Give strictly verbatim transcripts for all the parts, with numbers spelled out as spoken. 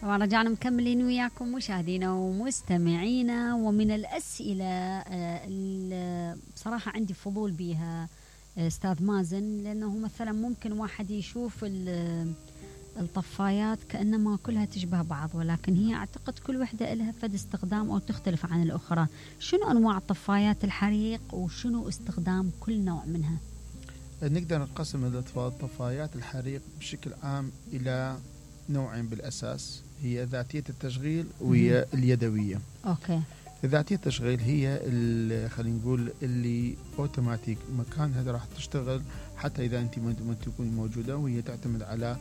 طبعا رجعنا مكملين وياكم مشاهدينا ومستمعينا. ومن الأسئلة بصراحة عندي فضول بيها أستاذ مازن، لأنه مثلا ممكن واحد يشوف الطفايات كأنما كلها تشبه بعض، ولكن هي أعتقد كل وحدة لها فد استخدام أو تختلف عن الأخرى. شنو أنواع الطفايات الحريق وشنو استخدام كل نوع منها؟ نقدر نقسم الطفايات الحريق بشكل عام إلى نوعين بالأساس، هي ذاتية التشغيل وهي اليدوية. أوكي. ذاتية التشغيل هي اللي خلينا نقول اللي أوتوماتيك مكانها راح تشتغل حتى إذا أنت ما تكون موجودة، وهي تعتمد على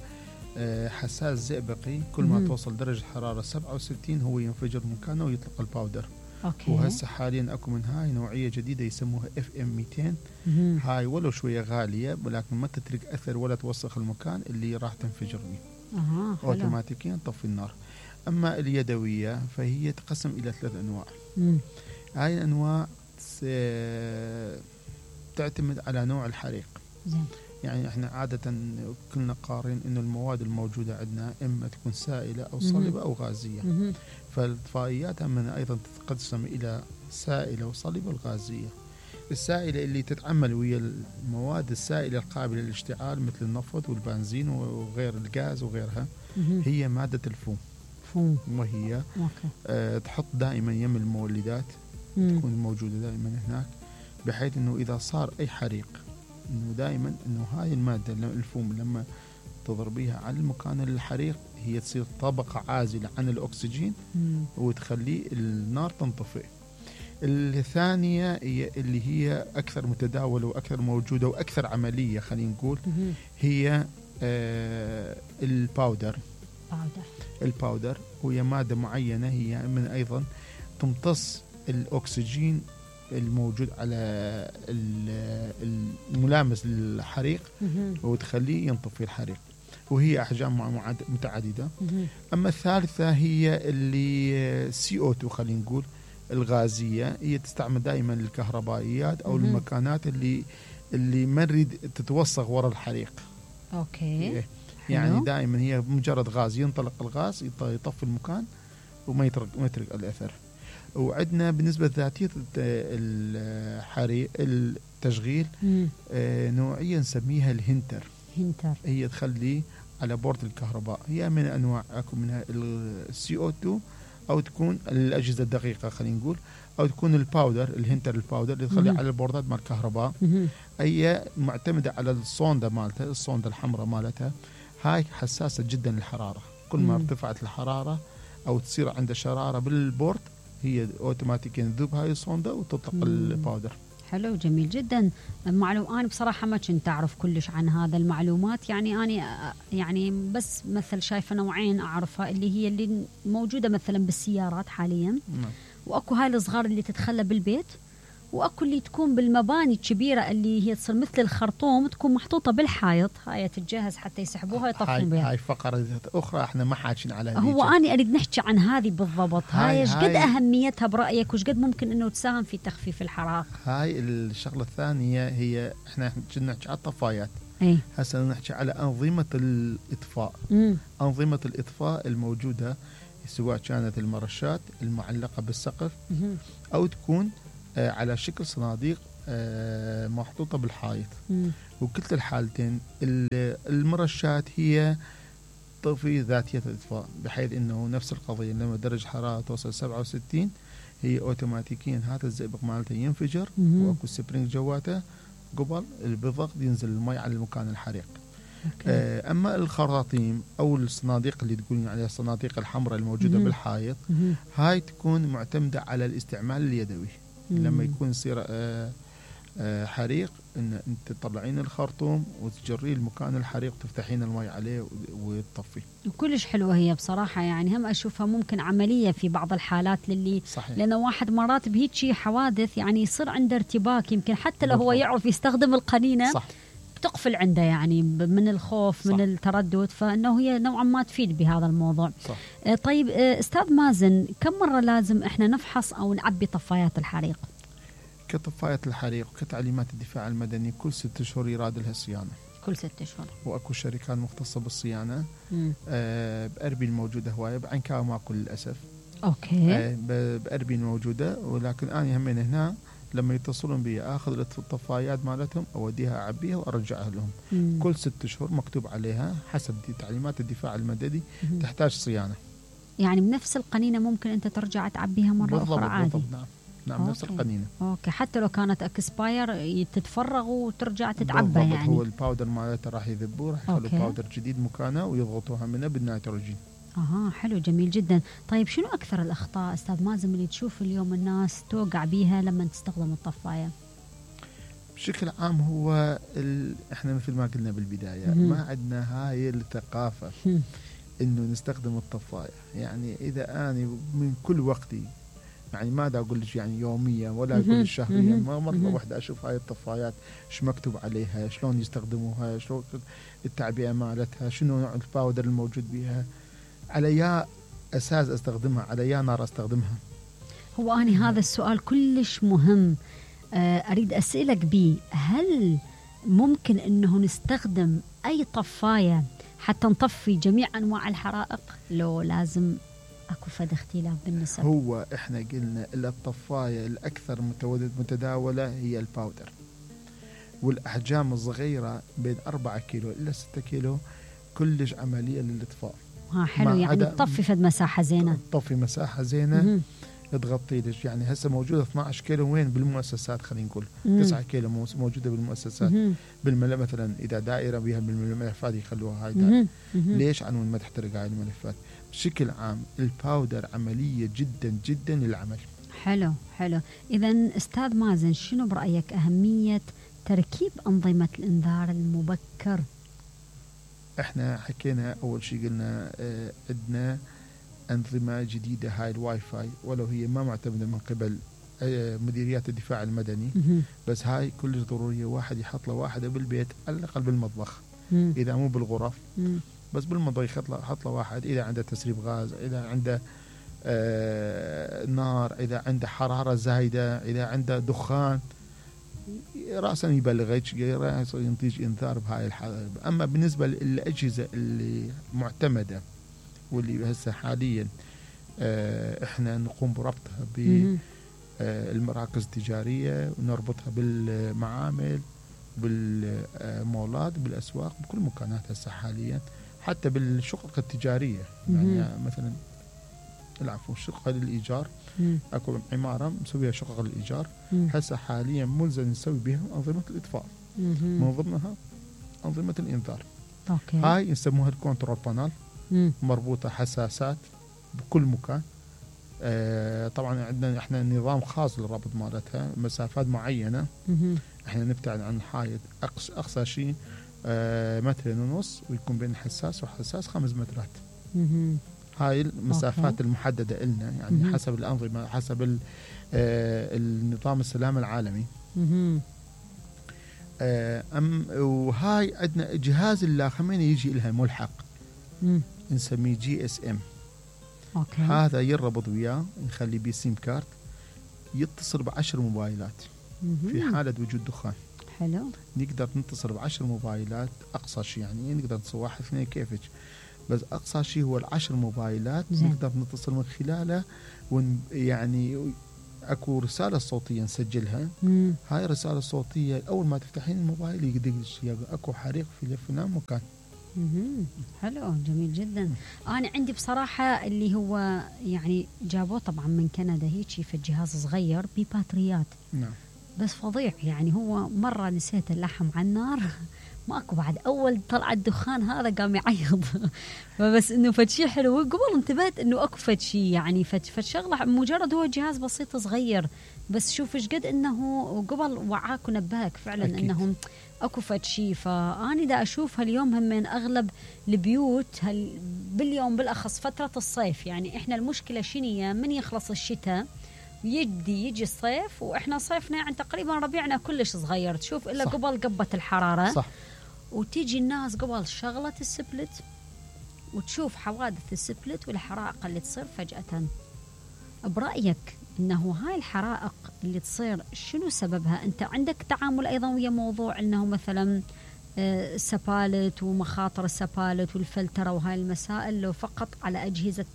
حساس زئبقي. كل ما توصل درجة حرارة سبعة وستين هو ينفجر مكانه ويطلق الباودر. أوكي. وهسه حاليا أكو من هاي نوعية جديدة يسموها اف ام مئتين. هاي ولو شوية غالية ولكن ما تترك أثر ولا توسخ المكان اللي راح تنفجر به. أه أوتوماتيكيا تطفي النار. أما اليدوية فهي تقسم إلى ثلاث أنواع. مم. هاي الأنواع تعتمد على نوع الحريق. زين. يعني احنا عادة كلنا قارين انه المواد الموجودة عندنا اما تكون سائلة او صلبة او غازية. فالطفايات من ايضا تتقسم الى سائلة وصلبة وغازية. السائلة اللي تتعمل ويا المواد السائلة القابلة للاشتعال مثل النفط والبنزين وغير الغاز وغيرها، هي مادة الفوم. فوم. وهي آه تحط دائما يم المولدات، مم. تكون موجودة دائما هناك، بحيث انه اذا صار اي حريق انه دائما انه هاي المادة الفوم لما تضربيها على المكان الحريق هي تصير طبقة عازلة عن الأكسجين مم. وتخلي النار تنطفئ. الثانية هي اللي هي أكثر متداولة وأكثر موجودة وأكثر عملية خلينا نقول، هي آه الباودر. باودر. الباودر وهي مادة معينة هي من أيضا تمتص الأكسجين الموجود على الملامس للحريق وتخليه ينطفي الحريق، وهي أحجام متعددة. أما الثالثة هي اللي سي أو تو خلينا نقول الغازية، هي تستعمل دائما للكهربائيات أو المكانات اللي اللي ما نريد تتوصغ وراء الحريق. أوكي. يعني دائما هي مجرد غاز، ينطلق الغاز يطفي المكان وما يترك ما يترك الأثر. وعندنا بالنسبة لذاتية الحريق التشغيل آه نوعية نسميها الهنتر. هنتر. هي تخلي على بورد الكهرباء، هي من أنواع أكو منها السي أو تو أو تكون الأجهزة الدقيقة خلينا نقول، أو تكون الباودر الهنتر الباودر اللي تخلي على البوردات مال الكهرباء. هي معتمدة على الصوندة مالتها، الصوندة الحمراء مالتها هاي حساسة جدا للحرارة. كل ما ارتفعت الحرارة أو تصير عند شرارة بالبورد هي اوتوماتيكيا تذوب هاي الصوندة وتطلق الباودر. حلو جميل جدا. معلوم انا بصراحه ما كنت اعرف كلش عن هذا المعلومات، يعني انا يعني بس مثل شايفه نوعين اعرفها اللي هي اللي موجوده مثلا بالسيارات حاليا. نعم. واكو هاي الصغار اللي تتخلى بالبيت، واكو اللي تكون بالمباني الكبيره اللي هي تصير مثل الخرطوم تكون محطوطه بالحائط، هاي تتجهز حتى يسحبوها يطفون بها. هاي فقره اخرى احنا ما حاكين على هو اني اريد نحكي عن هذه بالضبط. هاي ايش قد اهميتها برايك وش قد ممكن انه تساهم في تخفيف الحرائق؟ هاي الشغله الثانيه هي احنا كنا نحكي على الطفايات، اي هسه نحكي على انظمه الاطفاء. مم. انظمه الاطفاء الموجوده سواء كانت المرشات المعلقه بالسقف مم. او تكون آه على شكل صناديق آه محطوطه بالحائط. مم. وكلتا الحالتين المرشات هي تطفي ذاتية الإطفاء، بحيث أنه نفس القضية لما درجة حرارة توصل سبعة وستين هي أوتوماتيكيا هذا الزئبق مالته ينفجر وأكو سبرينج جواته قبل بالضغط ينزل الماء على المكان الحريق. آه أما الخراطيم أو الصناديق اللي تقولين عليها الصناديق الحمراء الموجودة مم. بالحائط مم. هاي تكون معتمدة على الاستعمال اليدوي. مم. لما يكون يصير آه آه حريق ان انت تطلعين الخرطوم وتجرين المكان الحريق وتفتحين الماء عليه وتطفي. وكلش حلوه هي بصراحه، يعني هم اشوفها ممكن عمليه في بعض الحالات للي صحيح. لانه واحد مرات بهيك شيء حوادث يعني يصير عنده ارتباك، يمكن حتى لو بالضبط. هو يعرف يستخدم القنينه صح. تقفل عنده يعني من الخوف صح. من التردد، فانه هي نوعا ما تفيد بهذا الموضوع. صح. آه طيب آه استاذ مازن، كم مره لازم احنا نفحص او نعبي طفايات الحريق؟ كطفاية الحريق وكتعليمات الدفاع المدني كل ست شهور يراد لها صيانة. كل ست اشهر. واكو شركات مختصه بالصيانه. آه باربيل موجوده هوايه، بعنكاو ماكو للاسف. اوكي. آه باربيل موجوده، ولكن انا همين هنا لما يتصلون بي اخذ الطفايات مالتهم اوديها اعبيها وارجعها لهم. مم. كل ست اشهر مكتوب عليها حسب دي تعليمات الدفاع المدني تحتاج صيانه. يعني بنفس القنينه ممكن انت ترجع تعبيها مره بالضبط اخرى عادي. بالضبط نعم نعم أوكي. نفس القنينه. اوكي، حتى لو كانت اكسباير تتفرغ وترجع تتعبى يعني. هو الباودر مالته راح يذبوه، راح يخلوا باودر جديد مكانه ويضغطوها منه بالنيتروجين. اها حلو جميل جدا. طيب شنو اكثر الاخطاء استاذ مازن اللي تشوف اليوم الناس توقع بيها لما تستخدم الطفايه؟ بشكل عام هو ال... احنا مثل ما قلنا بالبدايه م- ما عندنا هاي الثقافه انه نستخدم الطفايه. يعني اذا انا من كل وقتي، يعني ما دا اقول لك يعني يوميا ولا اقول لك شهريا، ما مره واحده اشوف هاي الطفايات شو مكتوب عليها، شلون يستخدموها، شلون التعبئه مالتها، شنو نوع الباودر الموجود بها، على يا اساس استخدمها، على يا نار استخدمها. هو أنا هذا السؤال كلش مهم اريد اسالك بيه. هل ممكن انه نستخدم اي طفايه حتى نطفي جميع انواع الحرائق، لو لازم اكو فد اختلاف بالنسب؟ هو احنا قلنا الا الطفايه الاكثر متداوله هي الباودر، والاحجام الصغيره بين أربعة كيلو الى ستة كيلو كلش عمليه للاطفاء. ها حلو، يعني تطفي فد مساحه زينه، تطفي مساحه زينه تغطي لك. يعني هسه موجوده اثنعش كيلو وين بالمؤسسات، خلينا نقول تسعة كيلو موجوده بالمؤسسات. بالملف مثلا اذا دائره بها بالملفات يخلوها هاي دائرة. ليش؟ عنون ما تحترق هاي الملفات. بشكل عام الباودر عمليه جدا جدا للعمل. حلو حلو. اذا استاذ مازن شنو برايك اهميه تركيب انظمه الانذار المبكر؟ احنا حكينا اول شيء قلنا اه عندنا أنظمة جديدة هاي الواي فاي، ولو هي ما معتمدة من قبل مديريات الدفاع المدني، بس هاي كلش ضرورية واحد يحط له واحدة بالبيت على الأقل بالمطبخ، إذا مو بالغرف بس بالمطبخ يحط له واحد. إذا عنده تسريب غاز، إذا عنده آه نار، إذا عنده حرارة زايدة، إذا عنده دخان، رأسا يبلغ ينتج إنذار بهاي الحالة. أما بالنسبة للأجهزة اللي معتمدة واللي هسه حاليا اه احنا نقوم بربطها بالمراكز التجاريه ونربطها بالمعامل بالمولات بالاسواق بكل مكانات هسه حاليا، حتى بالشقق التجاريه. يعني مثلا العفو شقه للايجار، اكو عماره مسويها شقق للايجار هسه حاليا ملزم نسوي بها انظمه الاطفاء، من ضمنها انظمه الانذار. أوكي. هاي يسموها الكنترول بانل، مربوطة حساسات بكل مكان. آه طبعا عندنا احنا نظام خاص للربط مالتها، مسافات معينة. مم. احنا نبتعد عن حائط اقصى اقصى شيء آه مترين ونص، ويكون بين الحساس والحساس خمس مترات. مم. هاي المسافات أوكي. المحددة لنا، يعني مم. حسب الأنظمة، حسب آه النظام السلام العالمي. مم. آه أم وهاي عندنا جهاز اللاخمين يجي لها ملحق، مم. نسميه جي اس ام. أوكي. هذا يربط وياه، نخلي بيه سيم كارت، يتصل بعشر موبايلات. مم. في حالة وجود دخان. حلو. نقدر نتصل بعشر موبايلات أقصى شيء، يعني نقدر نتصل واحد اثنين كيفك، بس أقصى شيء هو العشر موبايلات. زين. نقدر نتصل من خلاله، ون يعني اكو رسالة صوتية نسجلها. مم. هاي الرسالة الصوتية أول ما تفتحين الموبايل يقدر اكو حريق في فلان مكان. مم. حلو جميل جدا. أنا عندي بصراحة اللي هو يعني جابوه طبعا من كندا هيك في الجهاز صغير بباتريات. نعم. بس فظيع، يعني هو مرة نسيت اللحم على النار ماكو بعد أول طلع الدخان هذا قام يعيض فبس إنه فد شيء حلو. قبل انتبهت إنه أكو فد شيء، يعني فد فد شغلة مجرد هو جهاز بسيط صغير، بس شوف إيش قد إنه قبل وعاك ونبهك فعلا. أكيد. إنهم اكو فد شيء. فاني دا اشوفها اليوم هم من اغلب البيوت هل باليوم بالاخص فتره الصيف. يعني احنا المشكله شنية؟ من يخلص الشتاء يجي يجي الصيف، واحنا صيفنا يعني تقريبا ربيعنا كلش صغير، تشوف الا صح. قبل قبه الحراره صح. وتيجي الناس قبل شغله السبلت، وتشوف حوادث السبلت والحرائق اللي تصير فجاه. برايك انه هاي الحرائق اللي تصير شنو سببها؟ انت عندك تعامل ايضا ويا موضوع انه مثلا السبالت ومخاطر السبالت والفلترة وهاي المسائل، لو فقط على أجهزة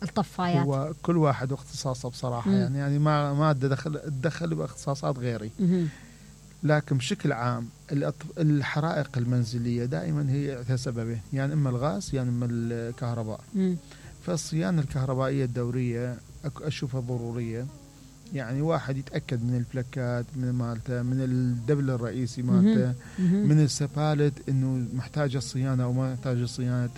الطفايات؟ هو كل واحد واختصاصه بصراحة. مم. يعني يعني ما ما ادخل اتدخل باختصاصات غيري. مم. لكن بشكل عام الحرائق المنزلية دائما هي سببين، يعني اما الغاز يعني اما الكهرباء. مم. فالصيانة الكهربائية الدورية اشوفها ضرورية. يعني واحد يتأكد من الفلكات من مالته، من الدبل الرئيسي مالته، من السبالت انه محتاجة صيانة او ما محتاجة صيانة،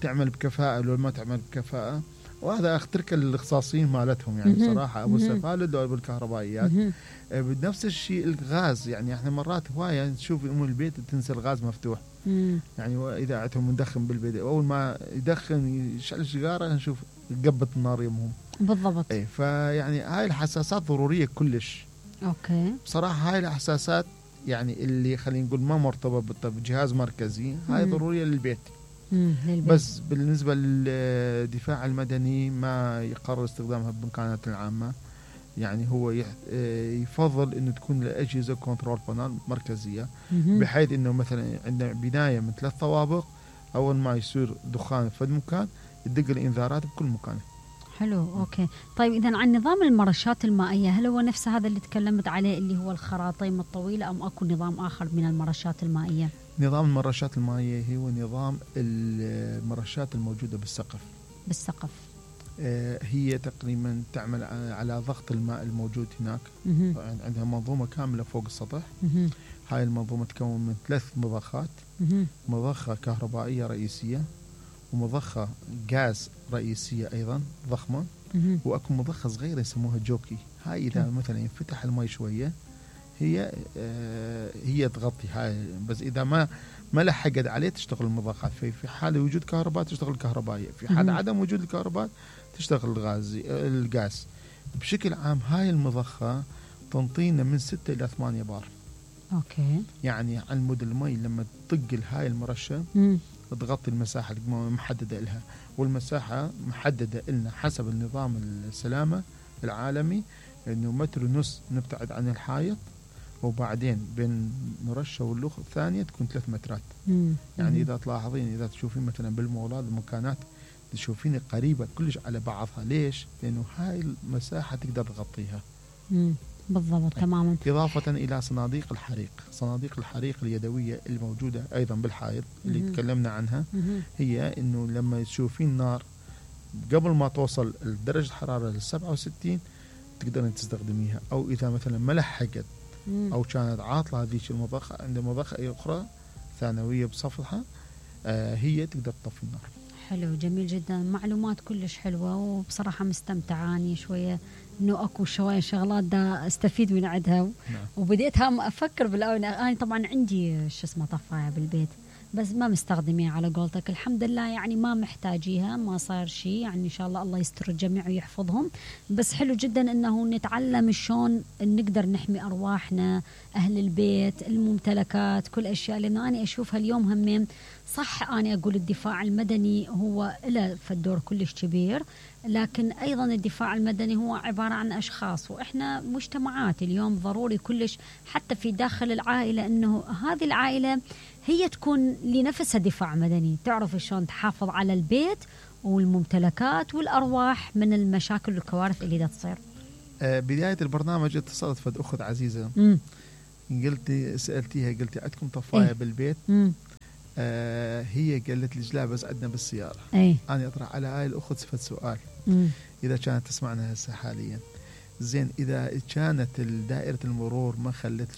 تعمل بكفاءة لو ما تعمل بكفاءة. وهذا اخترك الاختصاصيين مالتهم يعني بصراحة، ابو السفالد او ابو الكهربائيات. بنفس الشيء الغاز، يعني احنا مرات هواية نشوف ام البيت تنسى الغاز مفتوح. مم. يعني اذا عندهم مدخن بالبيت اول ما يدخن يشعل سيجارة نشوف قبة النار يمهم. بالضبط. اي فيعني هاي الحساسات ضرورية كلش. اوكي. بصراحة هاي الحساسات يعني اللي خلينا نقول ما مرتبطة بجهاز مركزي هاي مم. ضرورية للبيت. مم. للبيت. بس بالنسبة للدفاع المدني ما يقرر استخدامها بالمكانات العامة. يعني هو يفضل انه تكون الاجهزة كنترول بانل مركزية، مم. بحيث انه مثلا عندنا بناية من ثلاث طوابق اول ما يصير دخان في المكان يدق الانذارات بكل مكان. حلو. اوكي. طيب اذا عن نظام المرشات المائيه، هل هو نفس هذا اللي تكلمت عليه اللي هو الخراطيم الطويله ام اكو نظام اخر من المرشات المائيه؟ نظام المرشات المائيه هو نظام المرشات الموجوده بالسقف. بالسقف. آه هي تقريبا تعمل على ضغط الماء الموجود هناك. عندها منظومه كامله فوق السطح. مه. هاي المنظومه تكون من ثلاث مضخات. مه. مضخه كهربائيه رئيسيه، ومضخة غاز رئيسية أيضا ضخمة، وأكو مضخة صغيرة يسموها جوكي. هاي إذا مثلا ينفتح الماء شوية هي آه هي تغطي هاي، بس إذا ما ما لحقت عليه تشتغل المضخات. في في حال وجود كهرباء تشتغل الكهربائية، في حال عدم وجود الكهرباء تشتغل الغاز الغاز. بشكل عام هاي المضخة تنطينا من ستة إلى ثمانية بار. أوكي. يعني على مود المي لما تطق هاي المرشة تغطي المساحة المحددة لها، والمساحة محددة لنا حسب النظام السلامة العالمي انه متر ونص نبتعد عن الحائط، وبعدين بين مرشة والأخرى الثانية تكون ثلاث مترات. مم. يعني إذا تلاحظين إذا تشوفين مثلا بالمولات المكانات تشوفين قريبة كلش على بعضها. ليش؟ لأنه هاي المساحة تقدر تغطيها. مم. بالضبط. تماما. إضافة إلى صناديق الحريق. صناديق الحريق اليدوية الموجودة أيضا بالحائط اللي مم. تكلمنا عنها. مم. هي إنه لما تشوفين نار قبل ما توصل درجة حرارة للسبعة وستين تقدرين تستخدميها، أو إذا مثلا ما لحقت أو كانت عاطلة هذيك المضخة عند مضخة أخرى ثانوية بصفحة آه هي تقدر تطفي النار. حلو. جميل جدا. معلومات كلش حلوة، وبصراحة مستمتعاني شوية انه اكو شويه شغلات دا استفيد من عندها. نعم. وبديت هم افكر بالاول. انا طبعا عندي شو اسمه طفايه بالبيت بس ما مستخدميها على قولتك. الحمد لله يعني ما محتاجيها، ما صار شيء يعني ان شاء الله الله يستر الجميع ويحفظهم. بس حلو جدا انه نتعلم شلون نقدر نحمي ارواحنا، اهل البيت، الممتلكات، كل اشياء. لانه انا اشوفها اليوم همين صح. انا اقول الدفاع المدني هو له فالدور كلش كبير، لكن أيضا الدفاع المدني هو عبارة عن أشخاص، وإحنا مجتمعات اليوم ضروري كلش حتى في داخل العائلة أنه هذه العائلة هي تكون لنفسها دفاع مدني، تعرف شلون تحافظ على البيت والممتلكات والأرواح من المشاكل والكوارث اللي دا تصير. آه بداية البرنامج اتصلت فد أخت عزيزة. قلتي سألتيها قلتي عندكم طفاية؟ إيه؟ بالبيت. مم. آه هي قالت لي لا بس عندنا بالسيارة. أي. أنا أطرح على هاي الأخت صفة سؤال. مم. إذا كانت تسمعنا هسه حاليا زين، إذا كانت دائرة المرور ما خلت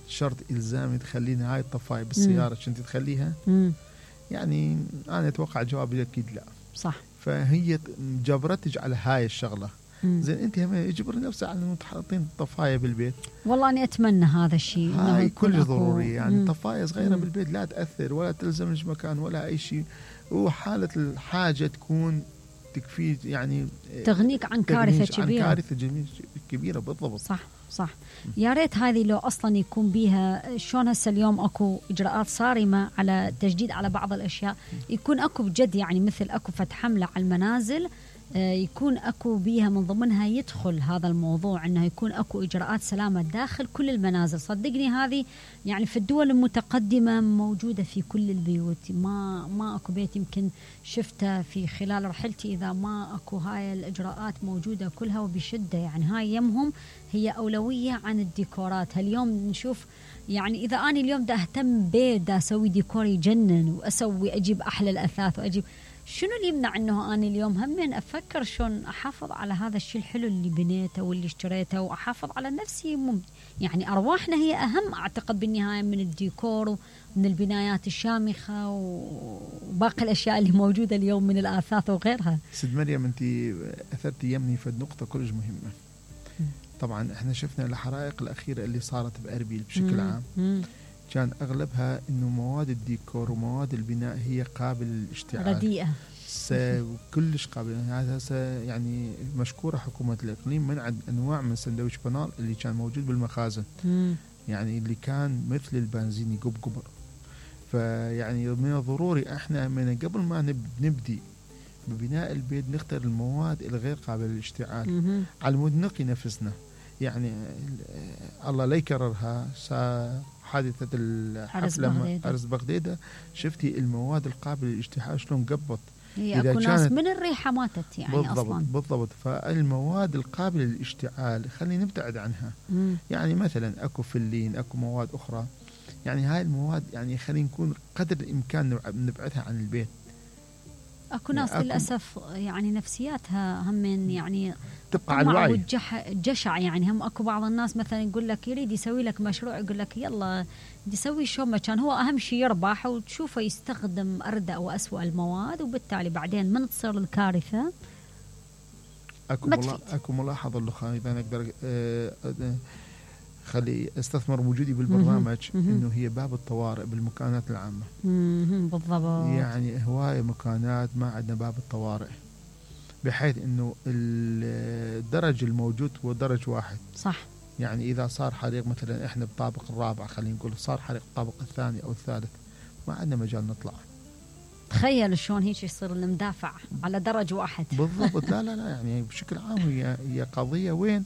شرط إلزامي تخليني هاي الطفاية بالسيارة كنت تخليها؟ مم. يعني أنا أتوقع جوابي أكيد لا. صح. فهي جبرتك على هاي الشغلة. زين انت هم يجبر نفسه على انه تحطين طفايه بالبيت. والله اني اتمنى هذا الشيء. هاي كل ضروري يعني. مم. طفايه صغيره مم. بالبيت لا تاثر ولا تلزمش مكان ولا اي شيء، وحاله الحاجه تكون تكفي يعني تغنيك عن كارثه كبيره. عن كارثه كبيره بالضبط. صح صح. يا ريت هذه لو اصلا يكون بيها شلون هسه اليوم اكو اجراءات صارمه على تجديد على بعض الاشياء، يكون اكو بجد يعني مثل اكو فتح حمله على المنازل يكون اكو بيها من ضمنها يدخل هذا الموضوع انه يكون اكو اجراءات سلامه داخل كل المنازل. صدقني هذه يعني في الدول المتقدمه موجوده في كل البيوت، ما ما اكو بيت يمكن شفته في خلال رحلتي اذا ما اكو هاي الاجراءات موجوده كلها وبشده. يعني هاي يمهم هي اولويه عن الديكورات. هاليوم نشوف يعني اذا انا اليوم دا اهتم بيت دا اسوي ديكور يجنن واسوي اجيب احلى الاثاث واجيب، شنو اللي يمنع انه انا اليوم هم افكر شلون احافظ على هذا الشيء الحلو اللي بنيته واللي اشتريته واحافظ على نفسي. مم يعني ارواحنا هي اهم اعتقد بالنهايه من الديكور ومن البنايات الشامخه وباقي الاشياء اللي موجوده اليوم من الاثاث وغيرها. سيد مريم انت اثرتي يمني في النقطه كلش مهمه. طبعا احنا شفنا الحرائق الاخيره اللي صارت باربيل بشكل عام مم. كان اغلبها انه مواد الديكور ومواد البناء هي قابله للاشتعال، رديئه كلش قابله. هذا يعني مشكوره حكومه الاقليم منعت انواع من سندويش بنال اللي كان موجود بالمخازن مم. يعني اللي كان مثل البنزين يقب قبر. فيعني من الضروري احنا من قبل ما نبدي ببناء البيت نختار المواد الغير قابله للاشتعال مم. على مود نقي نفسنا. يعني الله لا يكررها حادثة الحفلة أرز بغديدة، شفتي المواد القابلة للاشتعال شلون قبضت؟ هي أكو ناس من الريحة ماتت يعني بالضبط أصلا. بالضبط. فالمواد القابلة للاشتعال خلينا نبتعد عنها. مم. يعني مثلا أكو فلين، أكو مواد أخرى، يعني هاي المواد يعني خلينا نكون قدر الإمكان نبعدها عن البيت. اكو ناس يعني للاسف يعني نفسياتها هم يعني تبقى على الوعي والجشع. يعني هم اكو بعض الناس مثلا يقول لك يريد يسوي لك مشروع، يقول لك يلا يسوي شو ما كان، هو اهم شيء يربح وتشوفه يستخدم اردأ واسوأ المواد، وبالتالي بعدين من تصير الكارثه. اكو ملا... اكو ملاحظه اللي اذا نقدر أه أه خلي استثمر وجودي بالبرنامج انه هي باب الطوارئ بالمكانات العامه. بالضبط. يعني هوايه مكانات ما عندنا باب الطوارئ، بحيث انه الدرج الموجود هو درج واحد. صح. يعني اذا صار حريق مثلا احنا بالطابق الرابع خلينا نقول صار حريق الطابق الثاني او الثالث ما عندنا مجال نطلع. تخيل شلون هيك يصير المدافع على درج واحد. بالضبط. لا لا لا يعني بشكل عام هي هي قضيه وين؟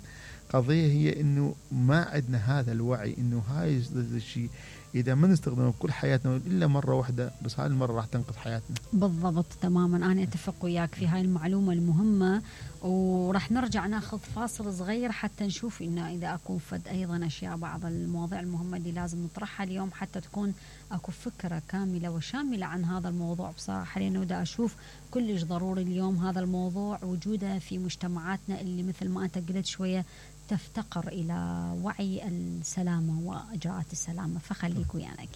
قضية هي إنه ما عندنا هذا الوعي إنه هاي الشيء إذا ما نستخدمه بكل حياتنا إلا مرة واحدة بس، هاي المرة راح تنقذ حياتنا. بالضبط تماما. أنا أتفق وياك في هاي المعلومة المهمة، وراح نرجع ناخذ فاصل صغير حتى نشوف إنه إذا أكو فد أيضا أشياء بعض المواضيع المهمة اللي لازم نطرحها اليوم حتى تكون أكو فكرة كاملة وشاملة عن هذا الموضوع. بصراحة لأنه دا أشوف كلش ضروري اليوم هذا الموضوع وجوده في مجتمعاتنا اللي مثل ما أنت قلت شوية تفتقر إلى وعي السلامة وإجراءات السلامة. فخليك ويانا.